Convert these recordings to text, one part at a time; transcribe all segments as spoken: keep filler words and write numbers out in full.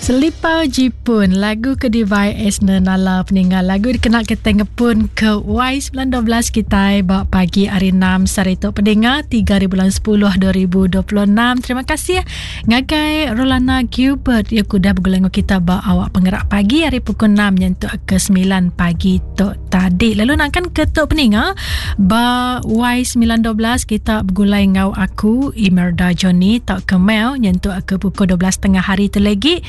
Selipau Jipun lagu ke dibai Esner Nala peninggal lagu dikena kita ngepun ke Y sembilan dua belas kita ba pagi hari enam sehari tu pendengar tiga hari bulan sepuluh dua ribu dua puluh enam. Terima kasih ngagai Rolana Gilbert yang udah bergulai dengan kita ba awak penggerak pagi hari pukul enam nyentuk ke sembilan pagi tu tadi. Lalu nakkan ke tu pendengar ba Y sembilan dua belas kita bergulai ngau aku Imerda Johnny tak ke Mel nyentuk ke pukul dua belas tengah hari tu lagi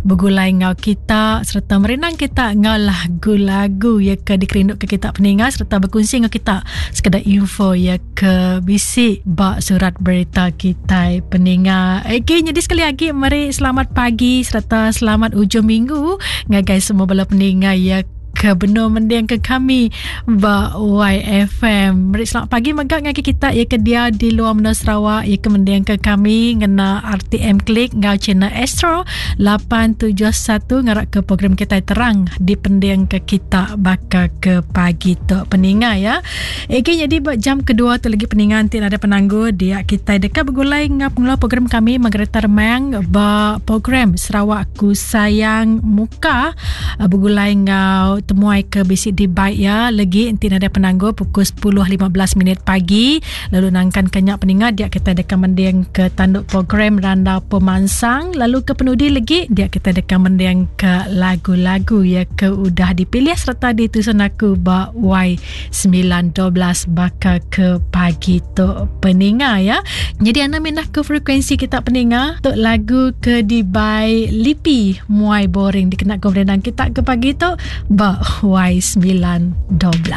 bergulai ngau kita serta merenang kita ngau lagu-lagu ya ke dikerinduk ke kita peningat serta berkongsi ngau kita sekadar info ya ke bisi bak surat berita kita peningat. Okey, jadi sekali lagi mari selamat pagi serta selamat ujung minggu ngagai semua bala peningat ya ke benar mending ke kami ba Y F M. Meri selamat pagi megak ngagi kita ya ke dia di luar menua Sarawak ya ke mending ke kami ngena R T M Klik ngau channel Astro lapan tujuh satu ngarak ke program kita terang di pending ke kita bakal ke pagi tu peninga ya. Okey, jadi buat jam kedua tu lagi peninga nanti ada penangguh dia kita dekat bergulai ngau pengelola program kami Margareta Remang ba program Sarawak Ku Sayang Muka bergulai ngau temuai ke bisi di baik ya lagi enti ada penangguh pukul sepuluh lima belas minit pagi lalu nangkan kenyak peningat dia kita dekat mending ke tanduk program Randau Pemansang lalu ke penudi lagi dia kita dekat mending ke lagu-lagu ya ke udah dipilih serta ditusun aku ba Y sembilan dua belas bakal ke pagi tu peninga ya. Jadi anda minah ke frekuensi kita peninga tok lagu ke dibai Lipi Muai Boring dikena ke kita ke pagi tu ba Y sembilan dua belas.